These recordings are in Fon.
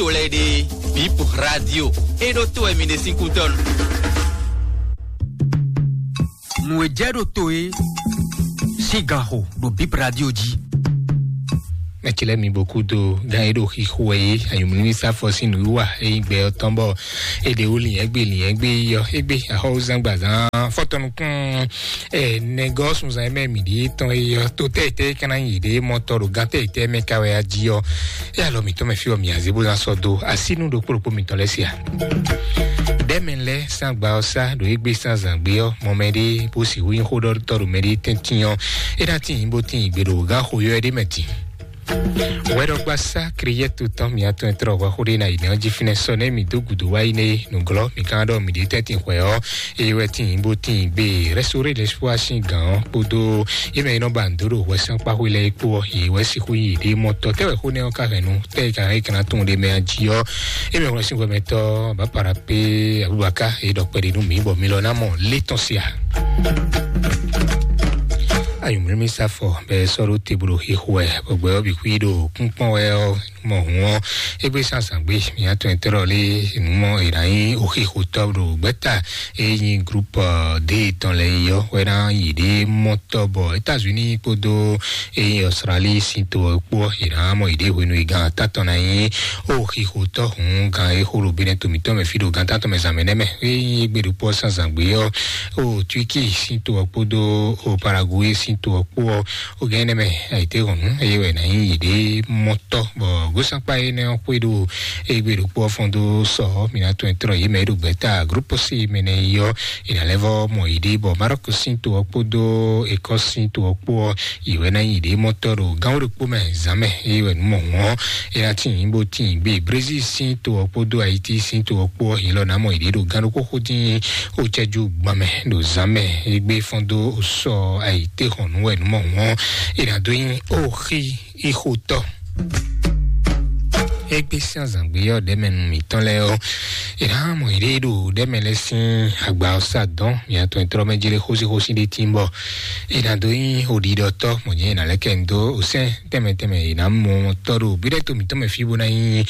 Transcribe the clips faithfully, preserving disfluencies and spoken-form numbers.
to lɛ́ɛ ɖe, Bip Radio, é ɖó to wɛ mi ɖe sín kútɔ́ nu. Nǔ e jɛ ɖo to e sín gan xo ɖo Bip Radio jí. Mɛtsilɛ mi boku do gan e ɖo xixo wɛ é, ayɔmlimi sáfɔ sín nǔwiwa e nyí gbɛ ɔ́ tɔn bɔ e ɖe wú lǐnyɛ́gbe lǐnyɛ́gbe yi ɔ́, égbé axɔ́wúzán gbazán fɔtɔnukún ɛ nɛgɔ́ sunzan e mɛ mǐ ɖíe tɔn e ɔ́, to tɛ́ e tɛ́ e ka ná nyi yěɖée mɔ tɔ ɖo gán tɛ́ e tɛ́ e mɛ ka wɛ a jí ɔ́, é alɔ mǐtɔn mɛ fí ɔ́ mǐ azé bó ná sɔ́ dó así nú ɖokpó ɖokpó mǐtɔn lɛ́ɛ se a? Ɖɛ̌ mɛ lɛ́ɛ sín agba ɔ́ sá ɖo égbé sín azǎn gbé ɔ́, mɔ mɛɖé bó sixú nyí xóɖɔtɔ́ ɖo mɛɖé tɛ́ntin ɔ́, é ná tíin bó tíin gbe ɖo gǎn xo yɔ́ ɛ ɖé mɛ din. Wɛɖɔgbasá Kriyɛ́tu tɔn mǐ atɔn e tlɔ hwɛxó ɖé ná yi nɛ́ ɔ́ jí fínɛ́ sɔ nɛ́ mǐ dó gǔdo wá yi nɛ́ nǔglɔ́ mǐ ka ɖɔ mǐ ɖě tɛ́ntin hwɛ̌ ɔ́, eye wɛ tíin bó tíin gbe rɛ́sóréɖɛ́súwá sín gǎn ɔ́ kpódó yě mɛ e nɔ ba nǔ dó ɖo hwɛsán kpáxwé lɛ́ɛ é kpó ɔ́, yě wɛ sixú yi ɖě mɔ tɔ tɛ́ wɛ xó nɛ́ ɔ́ ka hɛn nu tɛ́ e ka hɛn é ka ná tunwun ɖe mɛ a jí ɔ́, é mɛ hwlɛ́n sín hwɛmɛtɔ́ bǎ para pé Abubakar e ɖɔ kpɛɖé nú mǐ bɔ mi lɔ ná mɔ lé tɔn sia. Ayɔmlimi sáfɔ bɛ sɔ́ ɖó te bó ɖo xixo wɛ bɔ gbɛ ɔ́ bǐ xwí ɖo kúnkpɔ́n wɛ ɔ́ mɔ hǔn ɔ́, égbé sín azǎn gbé mǐ atɔn e tlɔ lé nǔ mɔ è nǎ nyí oxixotɔ́ ɖo gbɛ́ta e nyí groupe D tɔn lɛ́ɛ yi ɔ́ wɛ ná yi ɖě mɔtɔ́ bɔ États-Unis kpódó e nyí Australie sín to ɔ́ kpó ɔ́, è nǎ mɔ yi ɖě hwenu e gan atán tɔn ná nyí oxixotɔ́ hǔn gan e xo ɖo Benɛto mǐtɔn mɛ fí ɖo gan atán tɔn mɛ zǎn mɛ nɛ́ mɛ e nyí égbé ɖokpó ɔ́ sín azǎn gbé ɔ́, o Turquie sín to ɔ́ kpódó o Paraguay sín to ɔ́ kpó ɔ́, o gɛn nɛ́ mɛ ayǐtéhɔ̌nnu eye wɛ ná nyí yěɖée mɔtɔ́ bɔ gosakpa énɛ́ ɔ́ xwé ɖo égbé ɖokpó ɔ́ fɔ́n dó sɔ ɔ́, mǐ ná tɔn tlɔ yě mɛ e ɖo gbɛ̌ta groupe C mɛ nɛ́ yi ɔ́, è nǎ lɛ́ vɔ́ mɔ yěɖée bɔ Maroc sín to ɔ́ kpódó Écosse sín to ɔ́ kpó ɔ́, yě wɛ ná nyí yěɖée mɔtɔ́ ɖo gán wó ɖokpó mɛ zǎn mɛ eye wɛ nǔ mɔ hǔn ɔ́, é ná tíin bó tíin gbé Brésil sín to ɔ́ kpódó Haïti sín to ɔ́ kpó ɔ́, yě lɔ ná mɔ yěɖée ɖo gán ɖokpó xo dín o cɛ́jú gban mɛ ɖo zǎn mɛ égbé fɔ́n dó sɔ ayǐtéhɔ̌nnu wɛ nǔ mɔ hǔn ɔ́, è nǎ dó nyí oxí ixotɔ́. Égbé sín azǎngbé ɔ́ ɖɛ̌mɛnu mǐtɔn lɛ́ɛ ɔ́, è nǎ mɔ yěɖée ɖo ɖɛ̌mɛ lɛ́ɛ sín agba ɔ́ sá dɔn mǐ atɔn e tlɔ́ mɛ jlé xósíxósí ɖé tín bɔ è nǎ dó nyí oɖiɖɔtɔ́ mɔ̌ jɛ́n è nǎ lɛ́ kɛ nyi dó osɛ́n tɛnmɛ tɛnmɛ è nǎ mɔ tɔ́ ɖo bíɖɛ́ to mǐtɔn mɛ fí bó ná nyí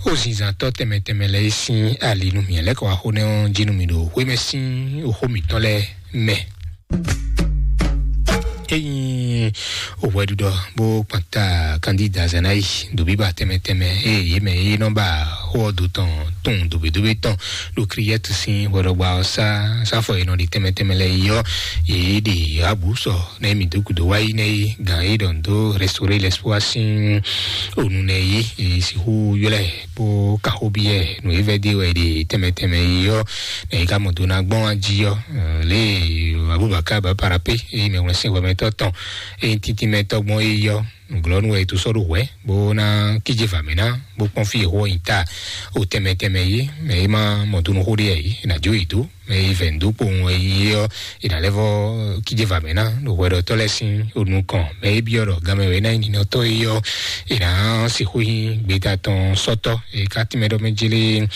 ozinzantɔ́ tɛnmɛ tɛnmɛ lɛ́ɛ sín ali nú mǐ lɛ́ kɔ wá xó nɛ́ ɔ́ jí nú mǐ ɖo xwémɛ sín oxó mǐtɔn lɛ́ɛ mɛ. Ényí òwɛɖuɖɔ bó kpanta kandida zanayi ɖo bíbá tɛnmɛ tɛnmɛ eye yě mɛ e nɔ ba xó ɔ́ do tɔn tun dǒbédóbé tɔn ɖo Kriyɛ́tu sín hwɛɖɔgba ɔ́ sá sáfɔ e nɔ ɖi tɛnmɛ tɛnmɛ lɛ́ɛ yi ɔ́, yě ɖe abǔ sɔ nɛ mǐ dó gǔdo wá yi nɛ yi gǎn e ɖɔ nǔ dó restauré l'espoir sín onu nɛ yi, e sixú ylɔ́ ɛ bó kan xó byɔ́ ɛ nǔ e vɛ́ dó wɛ è ɖe tɛnmɛ tɛnmɛ yi ɔ́, nɛ yi ka mɔ do ná gbɔn wá jí ɔ́, lě e Abubakar bá para pé e mɛ wlɛ́n sín hwɛmɛtɔ́ tɔn e nyí tíntín mɛ tɔ́ gbɔn é yi ɔ́, nǔglɔ́nú wɛ è tó sɔ́ ɖó hwɛ̌ bó ná kíjé vǎ mɛ ná bó kpɔ́n fí e xó ɔ́ nyi ta o tɛnmɛ tɛnmɛ yi, mɛ e má mɔ do nú xó ɖé ɛ yi è nǎ jó yi dó. Mɛ e vɛ̌ nǔ dó kpowun wɛ nyí é ɔ́, è nǎ lɛ́ vɔ́ kíjé vǎ mɛ ná ɖo hwɛɖɔtɔ́ lɛ́ɛ sín o nukɔn. Mɛ e byɔ́ ɖɔ ganmɛ wɛ é ná nyí ninɔtɔ́ é ɔ́, è nǎ sixú nyí gbeta tɔn sɔ́tɔ́ e ka tínmɛ ɖɔ mɛ jélé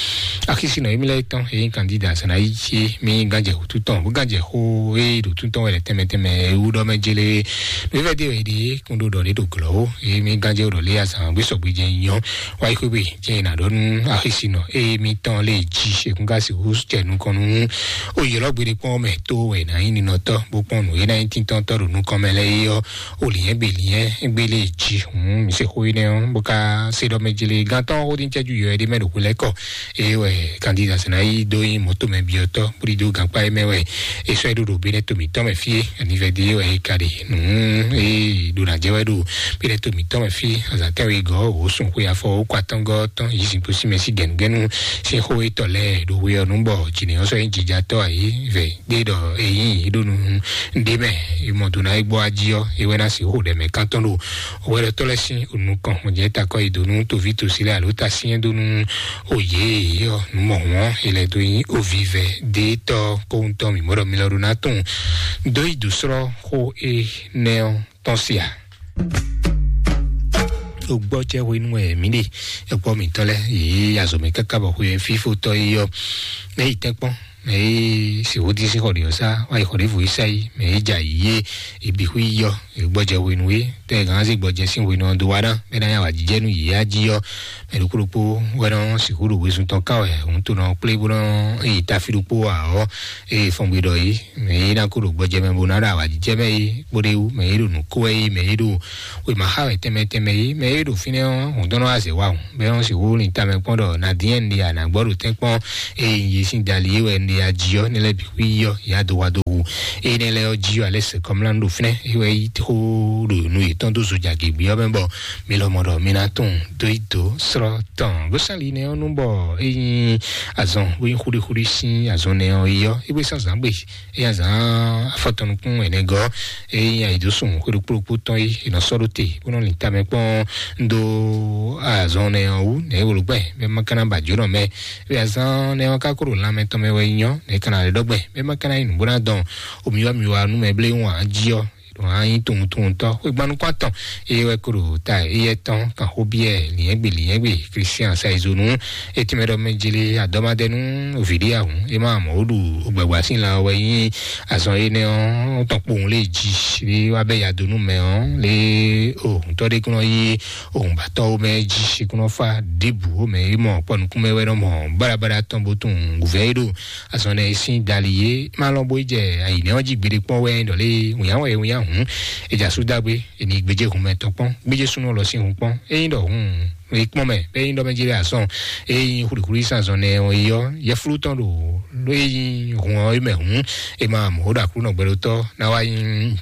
axísínɔ émí lɛ́ɛ tɔn e nyí kandida sɛnɛ ayí cí mí gánjɛ wútu tɔn bó gánjɛ xó e ɖo tún tɔn wɛ lɛ tɛnmɛ tɛnmɛ e wú ɖɔ mɛ jélé. Nǔ e vɛ́ dé wɛ è ɖe kún ɖó ɖɔ ɖé ɖo glɔ̌ ó, e mí gánjɛ ɖɔ lé azǎn gbé sɔgbe jɛ nyɔ wáyé xwé gbe jẹ́ è nǎ ɖɔ nú axísínɔ eye mǐtɔn lè jí ṣèkún ká sixú jɛ nukɔn nú oyělɔ́gbe ɖé kpɔ́n mɛ tó wɛ è nǎ nyí ninɔtɔ́ bó kpɔ́n nǔ e ná nyí tíntɔ́ntɔ́ ɖo nukɔn mɛ lɛ́ɛ é ɔ́, o lǐnyɛ́gbe lǐnyɛ́gbe lè jí hǔn mǐ se xó énɛ́ ɔ́ bó ká se ɖɔ mɛ jlé gantɔ́ xó dín cɛ́jú yɔ ɛ ɖé mɛ ɖo xwé lɛ́ɛ kɔ. Eye wɛ kandida sɛnɛ yi dó nyí mɔ̌to mɛ byɔ́tɔ́ bó ɖi dó gankpá é mɛ wɛ é sɔ́ é ɖó ɖo Benɛto mǐtɔn mɛ fí é. Anivɛdé wɛ é ka ɖe nǔ e ɖo ná jɛ wɛ ɖo Benɛto mǐtɔn mɛ fí azǎn tɛ́nwe gɔ́ wǒ sun xwe afɔ wó kɔ atɔ́ngɔ́ tɔn yi sin kpó sin mɛ sí gɛ̌nugɛ́nu sín xó étɔ́ lɛ́ɛ ɖo hwe ɔ́ nú bɔ jǐnɛ́ ɔ́ sɔ́ nyí jijatɔ́ ayǐ vɛ gbé ɖɔ é nyí é ɖó nú ɖé mɛ é mɔ do ná é gbɔ ají ɔ́ é wɛ ná sixú ɖɛ mɛ kántɔn ɖo hwɛɖɔtɔ́ lɛ́ɛ sín nukɔn mɔ̌ jɛ takɔ yi dó nú toví tosí lɛ́ɛ alo tasyɛ́n dó nú oyě ɔ́ nǔ mɔ hɔn é lɛ́ dó nyí ovivɛ dé tɔ́ kóhun tɔn mǐ mɔ ɖɔ mi lɔ ɖó ná tunwun dó yi dǒ srɔ́ xó énɛ́ ɔ́ tɔn sia. Ogbɔjɛ hwenu wɛ mǐ ɖe ekpɔ mǐtɔn lɛ yě azɔ̌ mɛ káká bɔ xwe fífótɔ́ é yɔ mɛ yi tɛ́nkpɔ́n Mɛ e sixú dín sín xɔ ɖě ɔ́ sá, wá yi xɔ ɖěvo yi sá yi, mɛ e jɛ ayǐ é, e bǐ xwí yɔ, e gbɔjɛ hwenu é, tɛ gǎn zé gbɔjɛ sín hwenu ɔ́ dó wá ná, bɛ ná ya wǎ jijɛ nú yě á jí ɔ́. Mɛ ɖokpó ɖokpó wɛ nɔ sixú ɖo wezun tɔn ká wɛ, òun tó nɔ kplé bó nɔ yi ta fí ɖokpó ǎ ɔ́, eye fɔngbe ɖɔ yìí, mɛ e ná kó ɖo gbɔjɛ mɛ bó ná ɖo awǎjijɛ mɛ é, kpóɖéwú mɛ e ɖo nǔ kó wɛ é, mɛ e ɖo wěma xa wɛ tɛnmɛ tɛnmɛ é, mɛ e ɖo fínɛ́ ɔ́, hǔn dɔn nɔ wá zɛ wá hǔn, bɛ́ ɔ́ sixú lin tamɛ kpɔ́n ɖɔ Nadiyɛ́n ɖe anǎgbɔ́ ɖo tɛ́nkpɔ́n, eye nyi sin dali é wɛ un ɖe ají ɔ́, nɛ lɛ́ɛ bǐ xwí ɔ́, yě adó wá dó wu. Eye nɛ lɛ́ɛ ɔ́ jí ɔ́, alɛ sɛ kɔmlá ɖo fínɛ́, é wɛ yí xó ɖo nǔ yětɔn dó zo jagě gbé ɔ́ mɛ bɔ mi lɔmɔ ɖɔ mi ná tunwun dó yi dó srɔ́ tɔn. Gosali nɛ ɔ́ nú bɔ é nyí azɔn bó nyí xúɖíxúɖí sín azɔn nɛ ɔ́ yi ɔ́, é gbé sán zǎn gbe. Eya zan afɔtɔnukun ɛnɛ gɔ, eya yi dó sun xwéɖokpóɖokpó tɔn yi, è nɔ sɔ́ ɖó te bó nɔ lin tamɛ kpɔ́n dó azɔn nɛ ɔ́ wú nɛ é wolo gbɛ bɛ ma kana ba jǒnɔ mɛ. Eya zan nɛ ɔ́ ka kó ɖo lanmɛ tɔn mɛ wɛ nyɔ nɛ kana lɛ ɖɔgbɛ bɛ ma kana yi nǔ bó ná dɔn omiwa miwa nú mɛ blé ŋu jí ɔ́. Ɖo hã nyí tunwuntunwuntɔ xwégbánukún atɔn eye wɛ kó ɖo ta eyɛ tɔn kan xó biɛ lìnyɛ́gbe lìnyɛ́gbe kristian saizonu. Etí mɛ ɖɔ mɛ jeli adɔmadɛnu vǐɖí ahun é má mɔ wó ɖu gbɛgbɛ sín la wɛ nyí azɔn énɛ́ ɔ́ tɔn kpowun lé jí lé wá bɛ ya dó nú mɛ ɔ́ lé ohùntɔ́ ɖé kúnɔ yí ohùnbátɔ́ wó mɛ jí kúnɔ fá ɖěbǔ wó mɛ é mɔ kpɔ nukún mɛ wɛ nɔ mɔ báɖabáɖa tɔn bó tunwun gǔvɛ́ é ɖo azɔn nɛ sín dali é má lɔn bó jɛ ayǐnɛ́ ɔ́ jí gbeɖé kpɔ́n wɛ ɖɔ lé wǐnyá wɛ wǐnyá hǔn. È jɛ asú dá gbé, è ní gbéjé hun mɛ tɔn kpɔ́n, gbéjé súnú lɔ sín hun kpɔ́n. Ényí ɖɔ hun e kpɔ́n mɛ, bɛ ényí ɖɔ mɛ jí lɛ asɔn, ényí xwlixwli sín azɔn nɛ ɔ́ yi ɔ́, yɛflú tɔn ɖo ló ényí hun ɔ́ yi mɛ hǔn, è ma mɔ ɖo Aklúnɔ gbɛɖotɔ́ ná wá nyí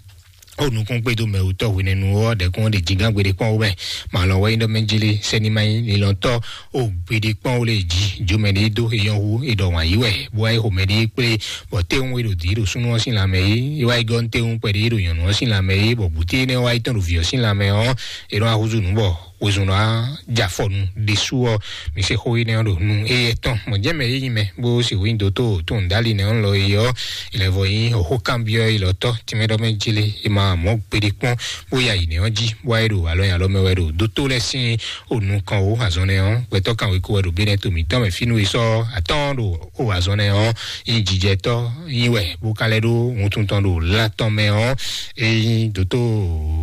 ó nukún kpédó mɛ wutɔ́ hwenɛ́nu ɔ́ ɖɛkún ɖe jingán gbeɖé kpɔ́n wú mɛ. Màlɔ wɛ nyí ɖɔ mɛ jí lé sɛ́ni má nyí lilɔntɔ́ ó gbeɖé kpɔ́n wú lé jí, jó mɛ ɖé dó é nyɔ́ hú é ɖɔ wǎn yí wɛ, bó wá é xo mɛ ɖé kplé, bɔ téwún é ɖo dǐ ɖo súnú ɔ́ sín lanmɛ é, é wá é gɔ́ nú téwún kpɛɖé é ɖo nyɔ̌nu ɔ́ sín lanmɛ é, bɔ bǔté énɛ́ wá é tɔn ɖo vǐ ɔ́ sín lanmɛ ɔ́, é nɔ wá húzú nǔ bɔ wezun ná ja afɔ nu ɖésú ɔ́, mi se xó énɛ́ ɔ́ ɖo nu éyɛ́ tɔn. Mɔ̌ jɛ́n mɛ é nyí mɛ bó sixú nyí dótó tó nǔɖáli nɛ́ ɔ́ lɔ é ɔ́, è lɛ́ vɔ nyí hǒxó kanbyɔ́ élɔ́tɔ́ tínmɛ ɖɔ mɛ jí lé, è ma mɔ̌ gbeɖé kpɔ́n bó ya yi nɛ́ ɔ́ jí, bó wá é ɖo alɔ nyi alɔ mɛ wɛ ɖo dótó lɛ́ɛ sín o nukɔn wó azɔn nɛ́ ɔ́, gbɛtɔ́ kanwekó wɛ ɖo bé nɛ́ to mǐtɔn mɛ fínú é sɔ́ atɔ́ɔ́n ɖo o azɔn nɛ́ ɔ́, nyí jijɛtɔ́ nyí wɛ bó ka lɛ́ ɖó wuntun tɔn ɖo lan tɔn mɛ ɔ́, é nyí dótó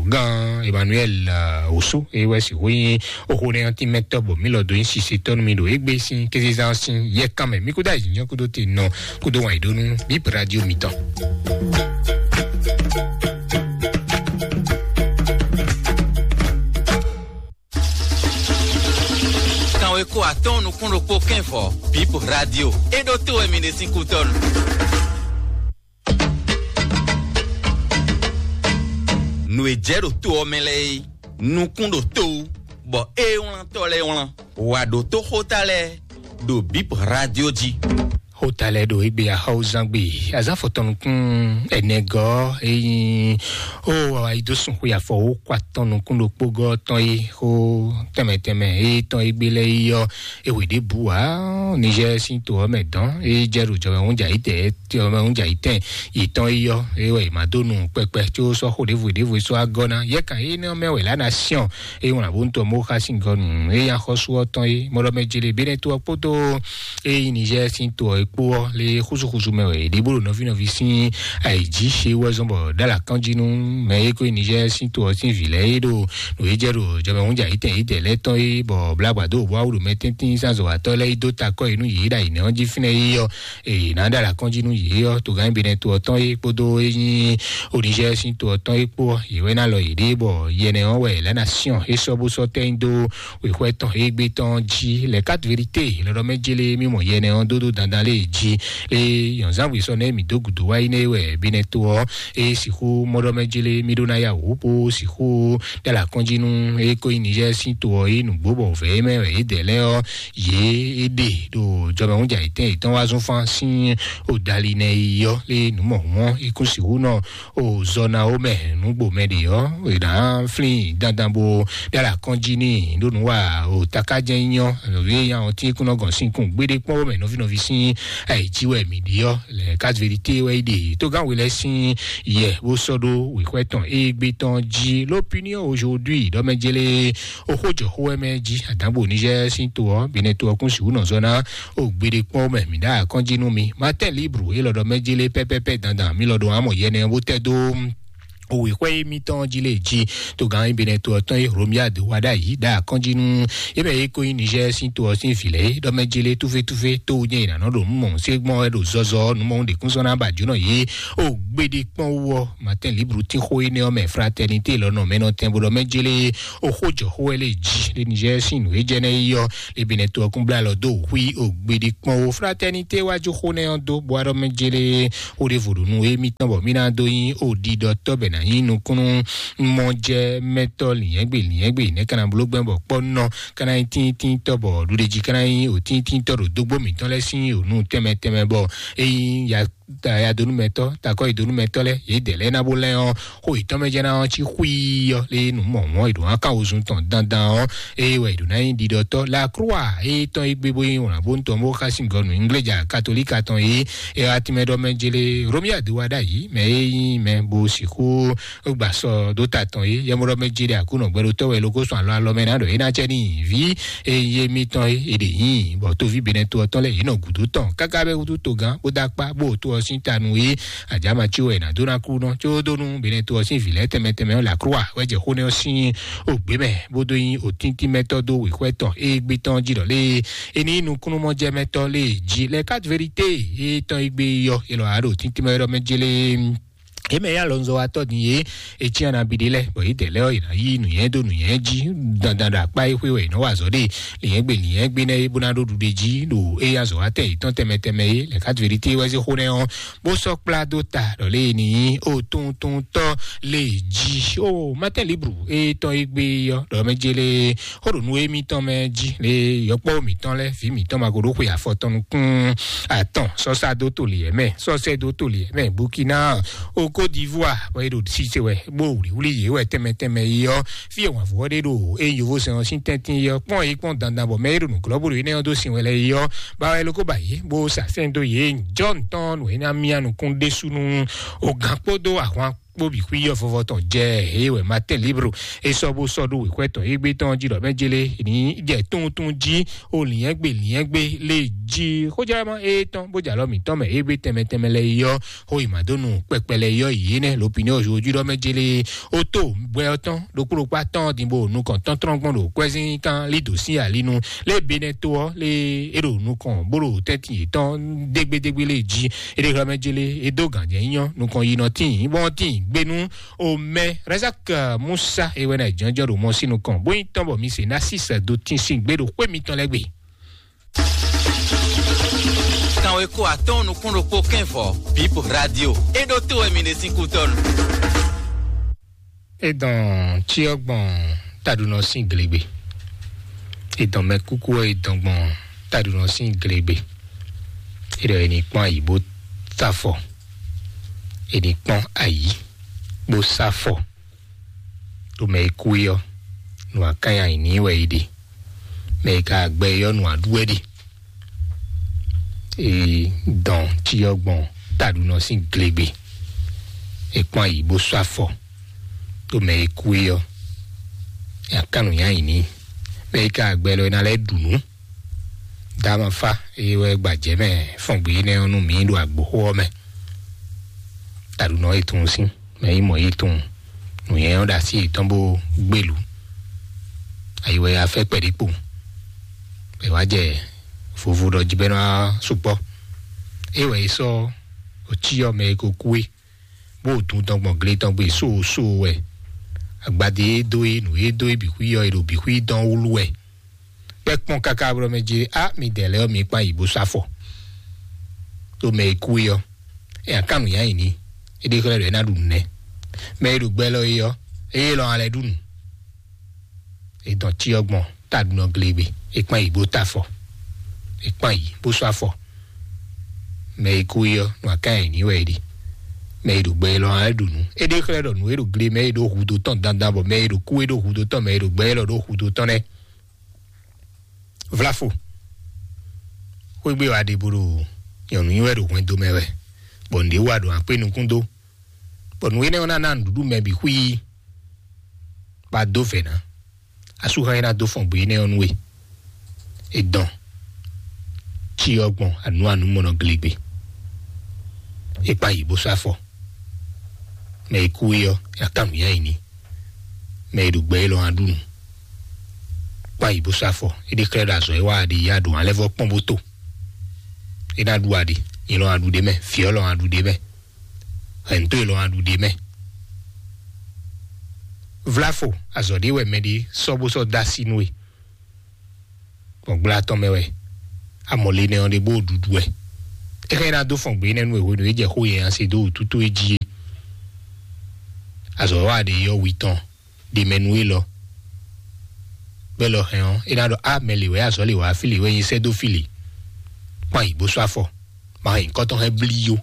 gán Emmanuel Osu, é wɛ sixú nyí oxó nɛ́ ɔ́ tínmɛtɔ́ bɔ mǐ lɔ dó nyí sisetɔ́ nú mi ɖo égbé sín kézezán sín yɛkán mɛ. Mí kúdó ayǐjínjɔ́n kúdó te nɔ kúdó wǎn yí ɖó nú bíp radio mitɔn. Kanweko atɔ́ɔ́n nukún ɖokpó kɛ́nvɔ bíp radio é ɖó tó wɛ mi ɖe sín kútɔ́nu. Nǔ e jɛ ɖo to ɔ́ mɛ lɛ́ɛ é, nukún ɖo to wú, bɔ é wlántɔ́ lɛ́ɛ wlán. Wǎ ɖótó xóta lɛ́ɛ ɖo bíp radio jí. Xóta lɛ́ɛ ɖo égbé axɔ́wúzán gbe azán fɔtɔnukún ɛnɛgɔ́ é nyí ó wá yi dó sun xwe afɔ wó kɔ atɔn nukún ɖokpó gɔ́ tɔn é xó tɛnmɛ tɛnmɛ é tɔn égbé lɛ́ɛ é yɔ é wě ɖěbǔ ǎ. Nizɛ́ɛ sín to ɔ́ mɛ dɔn é jɛ ɖo jɔmɛ hún jǎ yi tɛ jɔmɛ hún jǎ yi tɛn yětɔn é yɔ é wɛ è ma dó nu kpɛkpɛ có sɔ́ xó ɖěvo ɖěvo é sɔ́ agɔ́ ná yɛ kan é nɛ́ mɛ wɛ lá ná syɔn é wlán bó ntɔ mó xá sín gɔ́ nǔ é nyí axɔ́sú ɔ́ tɔn é mɔɖɔmɛ jele bénɛ́ tó ɔ́ kpódó é nyí Nizɛ́ɛ sín to ɔ́ é kpó ɔ́ lé xúsúxúsú mɛ wɛ è ɖě bó ɖo nɔví nɔví sín ayǐjí é wɛ zɔ́n bɔ ɖó alǎ kán jí nú mɛ é kó nyí Nizɛ́ɛ sín to ɔ́ sín vǐ lɛ́ɛ é ɖo nǔ e jɛ ɖo jɔmɛ hún jǎ yi tɛn yi tɛ lɛ́ɛ tɔn é bɔ blágbǎ dó bó awu ɖo mɛ tɛ́ntin sín azɔ̌watɔ́ lɛ́ɛ yi dó takɔ yi nú yě ɖo ayǐnɛ́ ɔ́ jí fínɛ́ é yɔ èyí ná ɖo alǎ kɔn jí nú yě ɔ́ togán bɛnɛ to ɔ́ tɔn é kpódó é nyí oníṣẹ́ sín to ɔ́ tɔn é kpó ɔ́ yě wɛ ná lɔ yě ɖée bɔ yɛnɛ ɔ́ wɛ lɛ̌ ná syɔ́n é sɔ́ bó sɔ́ tɛ́ nyi dó wěxwɛ́ tɔn é gbé tɔn jí lɛ kat vérité lɔɖɔ mɛ jélé mí mɔ yɛnɛ ɔ́ dódó dandan lé jí lé yɔ̌nzánwé sɔ́ nɛ́ mǐ dó gǔdo wá yi nɛ́ é wɛ bɛnɛ to ɔ́ é sixú mɔɖɔ mɛ jélé mí ɖó ná yá wǔ bó sixú ɖó alǎ kɔn jí nú é kó nyí Niger sín to ɔ́ é nǔgbó bɔ vɛ̌ é mɛ wɛ é dɛ lɛ́ɛ ɔ́ yě é ɖe ɖo jɔmɛhúnjà yětɛn yětɔn wá zɔ́n fán sín o dali nɛ yi ɔ́ lé nǔ mɔ̌hún ɔ́ é kún sixú nɔ o zɔ ná ó mɛ nǔgbó mɛ ɖě ɔ́ è nǎ flín dandan bó ɖó alǎ kɔn jí n'i ɖó nǔ wa o takájɛ́n nyí ɔ́ nɔví e nya ɔ́ tí é kún nɔ gɔn sín kún gbéɖé kpɔ́n ó mɛ nɔví nɔví sín Ayi jí wɛ mǐ ɖi ɔ́, lɛ quatre vérité wɛ é ɖe. Tógán we lɛ́ sín yɛ bó sɔ́ ɖó wěxwɛ́ tɔn égbé tɔn jí. L'Opinion aujourd'hui ɖɔ mɛ jélé oxó jɔ xó wɛ mɛ jí. Àdánbò Niger sín to ɔ́, Benin to ɔ́ kún sixú nɔ zɔ ná o gbeɖé kpɔ́n mɛ mǐ ɖá akɔ́njí nú mi. Matin Libre élɔ́ ɖɔ mɛ jélé pɛ́pɛ́pɛ́ dandan mí lɔ ɖo amɔ yɛ nɛ bó tɛ́ dó òwe xwɛ émítɔn jí lé jí. Tógán Benin to ɔ́ tɔn é Romuald Wadagni ɖa akɔ́njí nú é mɛ é ko nyí Niger sín to ɔ́ sín vǐ lɛ́ɛ é ɖɔ mɛ jí lé túfétúfé tó nyɛ ìnànà ɖo nǔ mɔ̌ sé gbɔn wɛ ɖo zɔzɔ nǔ mɔ̌ ɖě kún sɔ́ ná ba jǒnɔ yě o gbeɖé kpɔ́n wú ɔ́. Matin Libre tín xó énɛ́ ɔ́ mɛ Fraternité lɔ nɔ mɛ nɔ tɛn bó ɖɔ mɛ jí lé o xó jɔ xó wɛ lé jí lé Niger sín nǔ é jɛ nɛ́ é yɔ lé Benin to ɔ́ kún blá lɔ dó xwí o gbeɖé kpɔ́n wú. Fraternité wájú xó nɛ́ ɔ́ dó bó wá ɖɔ mɛ jí lé xó ɖěvo ɖo nú émítɔn bɔ mí ná dó nyí òɖiɖɔtɔ́ bɛ ná nyí nukúnnú mɔjɛmɛtɔ́ lǐnyɛ́gbe lǐnyɛ́gbe nɛ́ ka ná bló gbɛ́ bɔ kpɔ́ nɔ ka ná nyí tíntíntɔ́ bɔ ɖuɖéjí ka ná nyí òtíntíntɔ́ ɖo dógbó mǐtɔn lɛ́ɛ sín ònú tɛnmɛ tɛnmɛ bɔ é nyí ya yadonúmɛtɔ́ takɔ́yidonúmɛtɔ́ lɛ́ɛ yě dɛ lɛ́ɛ ná bó lɛ́ ɔ́ xó yětɔn mɛ jɛ ná ɔ́ cí xwíí ɔ́ lé nǔ mɔ̌mɔ́ è ɖǒ ná kan wozun tɔn dandan ɔ́ eye wɛ è ɖǒ ná nyí ɖiɖɔtɔ́ la croix eye tɔn é gbé bó nyí wlǎnbóntɔn bó xá sín gɔnu ingléja katolíka tɔn é ɛ atimɛɖɔmɛ jele Romuald Wadagni mɛ e nyí mɛ bó sixú gbà sɔ dó ta tɔn é yɛmɔɖɔmɛ jele Aklúnɔ gbɛɖotɔ́ wɛ lókó sɔn alɔ alɔ mɛ ná ɖɔ é ná cɛ ní vǐ eye mitɔn é è ɖe nyí bɔ tóví Benɛto ɔ́ tɔn lɛ yě nɔ gǔdo tɔn káká bɛ wútu togán bó dó akpá bó tó ɔ́ sín ta nú é àjàmà tí wɛ è nǎ dó ná kú nɔ có dó nú Benɛto ɔ́ sín vǐ lɛ́ɛ tɛnmɛ tɛnmɛ ɔ́ lɛ Aklúwa wɛ jɛ xó nɛ́ ɔ́ sín ògbé mɛ bó dó nyí òtíntímɛtɔ́ dó wěxwɛ́ tɔn égbé tɔn jí ɖɔ lé é ní nukúnnú mɔjɛmɛtɔ́ lé jí lɛ quatre vérité é tɔn égbé yɔ é lɔ àá ɖo òtíntímɛtɔ́ mɛ jélé é mɛ yá lɔnzɔwatɔ́ din yé é cyán na bi ɖé lɛ́ɛ bɔ yě dɛ lɛ́ɛ ɔ́ yě ná yí nǔnyɛ dó nǔnyɛ jí dandan ɖo akpá é xwé wɛ yě nɔ wa azɔ̌ ɖe lǐnyɛ́gbe lǐnyɛ́gbe nɛ́ é bó ná ɖó ɖuɖe jí ɖo éyí azɔ̌watɛ́ yětɔn tɛnmɛ tɛnmɛ é lɛ quatre vérité wɛ zé xó nɛ́ ɔ́ bó sɔ́ kplá dó ta ɖɔ lé ní ó tuntun tɔ́ lé jí ó Matin Libre é tɔn é gbé ɔ́ ɖɔ mɛ jélé xó ɖo nú émítɔn mɛ jí lé yɔkpɔ́ mǐtɔn lɛ́ɛ vǐ mǐtɔn ma ko ɖó xwe afɔ tɔn nukún atɔn sɔ́ sá dó toli ɛ mɛ sɔ́ sɛ dó toli ɛ mɛ Burkina o Côte d'Ivoire bɔ é ɖo sise wɛ bó wlǐwlí yě wɛ tɛnmɛ tɛnmɛ yi ɔ́ fí e wǎnvú ɔ́ ɖe ɖo é yovo sɛn ɔ́ sín tɛ́ntin yi ɔ́ kpɔ́n yi kpɔ́n dandan bɔ mɛ é ɖo nǔglɔ́ bó ɖo énɛ́ ɔ́ dó sin wɛ lɛ́ɛ yi ɔ́ ba wɛ lókó ba yě bó sa sɛn dó yě jɔ́n tɔn nǔ é ná mía nukún ɖésú nú o gǎn kpódó ahwan kpó bǐ xwí yɔ vɔvɔ tɔn jɛ eye wɛ Matin Libre é sɔ́ bó sɔ́ ɖó wěxwɛ́ tɔn égbé tɔn jí ɖɔ mɛ jélé ní jɛ tuntun jí o lǐnyɛ́gbe lǐnyɛ́gbe lé jí xójá ma é tɔn bó jalɔ mǐtɔn mɛ égbé tɛnmɛ tɛnmɛ lɛ yɔ xó yi ma dó nu kpɛkpɛ lɛ yɔ yě nɛ lopinɔ òjòjú ɖɔ mɛ jélé ó tó gbɛ ɔ́ tɔn ɖokpó ɖokpó atɔn din bó nukɔn tɔntɔn gbɔn ɖo kwɛzín kan lí dǒ sín alinu lé Benɛto ɔ́ lé é ɖo nukɔn bó ɖo tɛ́ntin yětɔn dégbédégbé lé jí é ɖe xlɛ́ mɛ jélé é dó gǎnjɛ nyɔ nukɔn yi nɔ tíin bɔn tíin gbénú o mɛ Razak Musa é wɛ ná jɔnjɔn ɖo mɔ sín nukɔn bó nyí tɔn bɔ mi se ná sísɛ dó tín sín gbé ɖo xwé mitɔn lɛ́ɛ gbe. Kanweko atɔ́ɔ́n nukún ɖokpó kɛ́n vɔ̌ Bip Radio é ɖótó wɛ mi ɖe sín kútɔ́nu. É dɔn cyɔ gbɔn taɖunɔ sín glegbe. É dɔn mɛ kúkú ɔ́ é dɔn gbɔn taɖunɔ sín glegbe. É ɖɔ é ní kpɔ́n ayǐ bó sá fɔ. É ní kpɔ́n ayǐ bó sá fɔ. Ɖo mɛ e kú é ɔ́, nǔ akánya nyi n'i wɛ é ɖe. Mɛ e ka gbɛ é ɔ́, nǔ aɖú wɛ ɖe. Ee, dɔn cyɔ gbɔn taɖunɔ sín glegbe. É kpɔ́n ayǐ bó sɔ́ afɔ. Ɖo mɛ e kú é ɔ́, nyi akánnu nyi ayǐ n'i. Mɛ e ka gbɛ lɔ é ná lɛ́ ɖu nǔ. Dama fa eye wɛ gbajɛ mɛ fɔn gbe énɛ́ ɔ́ nú mǐ ɖo agboxó ɔ́ mɛ. Taɖunɔ e tunwun sín mɛ yi mɔ yi tunwun nǔnyɛ ɔ́ ɖo así yětɔn bó gbélú. Ayi wɛ afɛ kpɛɖé kpo. È wá jɛ vovo ɖɔ jí bɛ́ nɔ sukpɔ́. É wɛ è sɔ́ òcí ɔ́ mɛ e ko kú é, bó dun tɔn gbɔn gle tɔn gbe sóosóo wɛ. Agbadé e dó é, nǔ e dó é bǐ xwí ɔ́, è ɖo bǐ xwí dɔn wúlú wɛ. Kpɛ́ kpɔ́n káká blɔ́ mɛ jí, á mi dɛ lɛ́ɛ ɔ́, mi kpán yi bó sá fɔ. Tó mɛ e kú é ɔ́, é akánu yá yi ní, é ɖé xlɛ́ ɖɔ é ná ɖu nǔ nɛ́. Mɛ e ɖo gbɛ lɔ é ɔ́, é lɔ alɛ ɖu nǔ. È dɔn cyɔ gbɔn taɖunɔ glegbe, è kpán yi bó ta afɔ, è kpán yi bó sɔ́ afɔ. Mɛ e kú é ɔ́, nɔ aká nyi ní wɛ é ɖi. Mɛ e ɖo gbɛ lɔ alɛ ɖu nǔ. É ɖé xlɛ́ ɖɔ nǔ e ɖo gle mɛ é ɖo hudó tɔn dandan bɔ mɛ e ɖo kú é ɖo hudó tɔn mɛ e ɖo gbɛ lɔ ɖo hudó tɔn nɛ́. Vlafo. Xwégbé wa ɖe bó ɖo Nyɔ̌nu nyi wɛ ɖo hwɛndo mɛ wɛ, bɔ nǔɖé wa ɖo akpé nukún dó, bɔ nǔ énɛ́ ɔ́ ná ná nǔɖuɖu mɛ bǐ xwíí. Ba dó vɛ̌ ná. Asúxan e ná dó fɔn gbe énɛ́ ɔ́ nú we. È dɔn cyɔ gbɔn anǔ anǔ mɔnɔ glegbe. È kpa yǐ bó sɔ́ afɔ. Mɛ e kú é ɔ́, è nǎ kan nǔnywɛ́ nyi n'i. Mɛ e ɖo gbɛ élɔ́ ná ɖu nǔ. Kpa yǐ bó sɔ́ afɔ. É ɖe xlɛ́ ɖo azɔ̌ e wa ɖe yá ɖo alɛ́vɔ́ kpɔ́n bó to. É ná ɖu aɖe. Nyɛ lɔ ná ɖu ɖé mɛ. Vǐ ɔ́ lɔ ná ɖu ɖé mɛ. Hɛ̌nto e lɔ ná ɖu ɖé mɛ. Vláfo, azɔ̌ ɖé wɛ mɛɖé sɔ́ bó sɔ́ dó así nú we. Gbɔn gbla tɔn mɛ wɛ amɔ̌ le nɛ ɔ́ ɖe bó ɖuɖu wɛ. É xá ná dó fɔn gbě nɛ́ nú e hwenu e jɛ xó yɛ nya se dó wǔtútú e jí é. Azɔ̌ wa ɖe yɔ́ wi tɔn ɖe mɛ nú élɔ́. Bɛ́ lɔ hɛn ɔ́, é ná ɖɔ á mɛ lě wɛ azɔ̌ lě wá fí lě wɛ nyi sɛ́ dó fí lě. Kpan yǐ bó sɔ́ afɔ. Ma hɛn nyǐkɔ tɔn hɛn blí yó.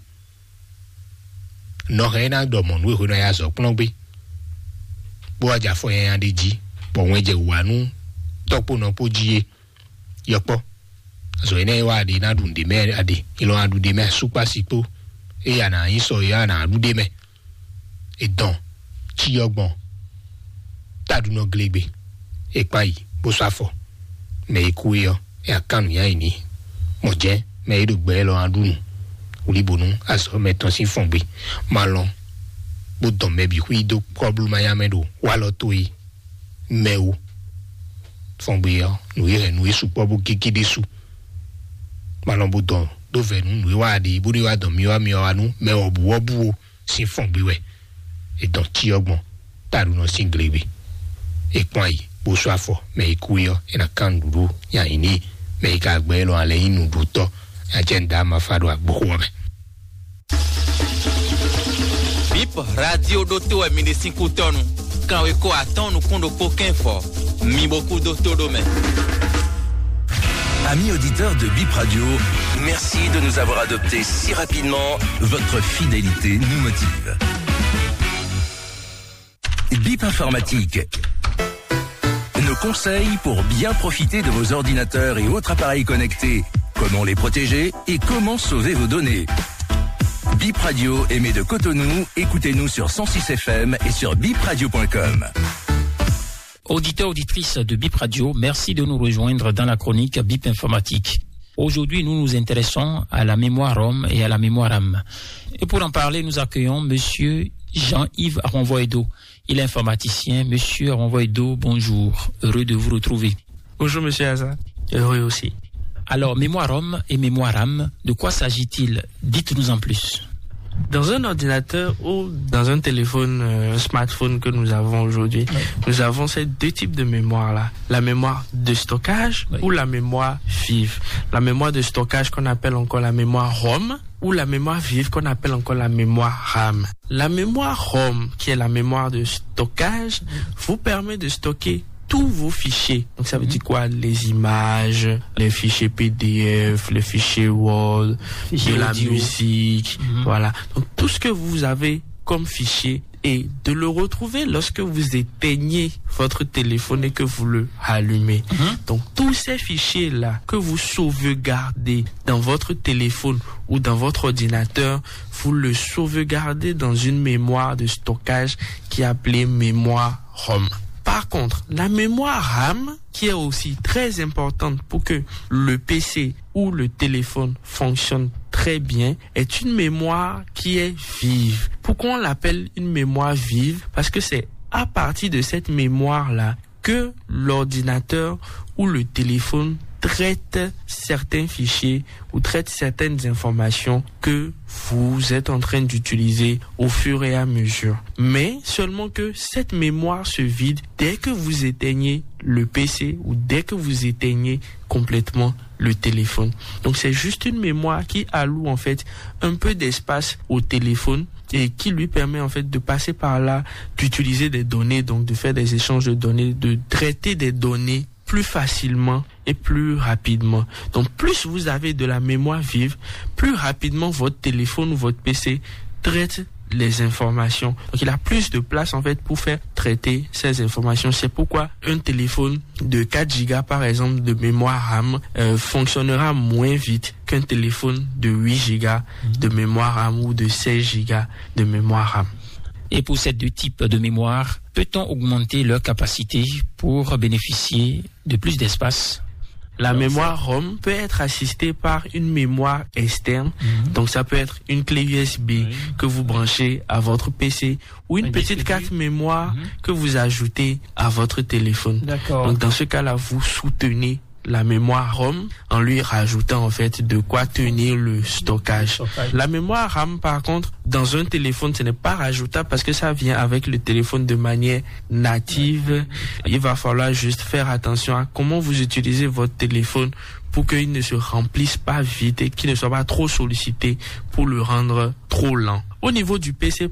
Nɔ hɛn é ná ɖɔ mɔ̌ nú e hwenu e a yi azɔ̌ kplɔ́n gbé, bó wá jɛ afɔ nyanya ɖé jí, bɔ wɛn jɛ wǔ wá nú tɔ́kpónɔ kpó jí é. Yɔkpɔ́, azɔ̌ énɛ́ e wá aɖe ná ɖu nǔɖé mɛ aɖe, ilɔ́ ná ɖu ɖé mɛ, súkpási kpó, eye a nǎ nyí sɔ, eye a nǎ ɖu ɖé mɛ. È dɔn, cyɔ gbɔn, taɖunɔ glegbe, è kpan yi, bó sɔ́ afɔ. Mɛ e kú é ɔ́, é ná kan nǔnywɛ́ nyi n'i. Mɔ̌ jɛ́n mɛ e ɖo gbɛ élɔ́ ná ɖu nǔ wlíbo nú azɔ̌ mɛtɔn sín fɔngbe. Ma lɔn bó dɔn mɛ bǐ xwí dó kɔ́blú manyá mɛ ɖo walɔ towe mɛ wú. Fɔngbe ɔ́, nǔ e hɛn nǔ e sukpɔ́ bó gégé ɖésú. Ma lɔn bó dɔn ɖó vɛ̌ nú nǔ e wa ɖe bó ɖe wá dɔn myɔ wá myɔ wá nú mɛ wɔ̌buwɔ́bú ó sín fɔngbe wɛ. È dɔn cyɔ gbɔn taɖunɔ sín glegbe. È kpɔ́n ayi bó sú afɔ, mɛ e kú é ɔ́, è nǎ kán nǔɖuɖu nyi ayǐ n'i. Mɛ e ka gbɛ élɔ́ alɛ nyí nǔɖutɔ́, nya jɛ nǔ da ma fa ɖo agboxo ɔ́ mɛ. Bip radio ɖótó wɛ mi ɖe sín kútɔ́nu. Kanwekó atɔ́ɔ́n nukún ɖokpó kɛ́n fɔ, mi bo kú dó tó ɖó mɛ. Amis auditeurs de Bip Radio, merci de nous avoir adoptés si rapidement. Votre fidélité nous motive. Bip Informatique. Nos conseils pour bien profiter de vos ordinateurs et autres appareils connectés. Comment les protéger et comment sauver vos données. Bip Radio émet de Cotonou. Écoutez-nous sur cent six F M et sur bip radio point com. Auditeurs, auditrices de Bip Radio, merci de nous rejoindre dans la chronique Bip Informatique. Aujourd'hui, nous nous intéressons à la mémoire ROM et à la mémoire RAM. Et pour en parler, nous accueillons Monsieur Jean-Yves Aronvoido. Il est informaticien. Monsieur Aronvoido, bonjour. Heureux de vous retrouver. Bonjour, Monsieur Aza. Heureux aussi. Alors, mémoire ROM et mémoire RAM, de quoi s'agit-il ? Dites-nous en plus. Dans un ordinateur ou dans un téléphone, euh, un smartphone que nous avons aujourd'hui, oui, nous avons ces deux types de mémoire-là. La mémoire de stockage, oui, ou la mémoire vive. La mémoire de stockage qu'on appelle encore la mémoire ROM ou la mémoire vive qu'on appelle encore la mémoire RAM. La mémoire ROM, qui est la mémoire de stockage, vous permet de stocker tous vos fichiers. Donc ça veut dire quoi ? Les images, les fichiers P D F, les fichiers Word, fichiers de la audio, musique, mhm, voilà. Donc tout ce que vous avez comme fichier et de le retrouver lorsque vous éteignez votre téléphone et que vous le rallumez. Mhm. Donc tous ces fichiers-là que vous sauvegardez dans votre téléphone ou dans votre ordinateur, vous le sauvegardez dans une mémoire de stockage qui est appelée mémoire ROM. Par contre, la mémoire RAM, qui est aussi très importante pour que le P C ou le téléphone fonctionne très bien, est une mémoire qui est vive. Pourquoi on l'appelle une mémoire vive ? Parce que c'est à partir de cette mémoire-là que l'ordinateur ou le téléphone traite certains fichiers ou traite certaines informations que vous êtes en train d'utiliser au fur et à mesure. Mais seulement que cette mémoire se vide dès que vous éteignez le P C ou dès que vous éteignez complètement le téléphone. Donc c'est juste une mémoire qui alloue en fait un peu d'espace au téléphone et qui lui permet en fait de passer par là, d'utiliser des données, donc de faire des échanges de données, de traiter des données plus facilement et plus rapidement. Donc plus vous avez de la mémoire vive, plus rapidement votre téléphone ou votre P C traite les informations. Donc il a plus de place en fait pour faire traiter ces informations. C'est pourquoi un téléphone de quatre gigas par exemple de mémoire RAM euh, fonctionnera moins vite qu'un téléphone de huit gigas de mémoire RAM ou de seize gigas de mémoire RAM. Et pour ces deux types de mémoire, peut-on augmenter leur capacité pour bénéficier de plus d'espace? La mémoire ROM peut être assistée par une mémoire externe. Donc ça peut être une clé U S B que vous branchez à votre P C ou une petite carte mémoire que vous ajoutez à votre téléphone. Donc dans ce cas-là, vous soutenez la mémoire ROM en lui rajoutant en fait de quoi tenir le stockage. La mémoire RAM par contre dans un téléphone, ce n'est pas rajoutable parce que ça vient avec le téléphone de manière native. Il va falloir juste faire attention à comment vous utilisez votre téléphone pour qu'il ne se remplisse pas vite et qu'il ne soit pas trop sollicité pour le rendre trop lent. Au niveau du P C